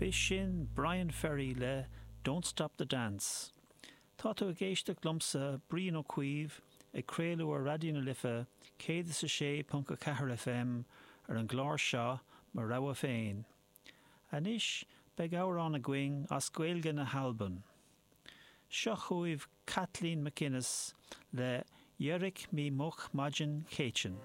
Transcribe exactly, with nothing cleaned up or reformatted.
B'shin Bryan Ferry le Don't Stop the Dance. Tá tú ag éisteacht liomsa Brian Ó Cuív ag craoladh ar Raidió na Life céad is a sé ponc a ceathair FM ar an gclár seo mo rogha féin. Anois beidh amhrán againn as Gaeilge na hAlban. Seo chugaibh Kathleen MacInnes le Dheirich mi moch maidin Chéitinn.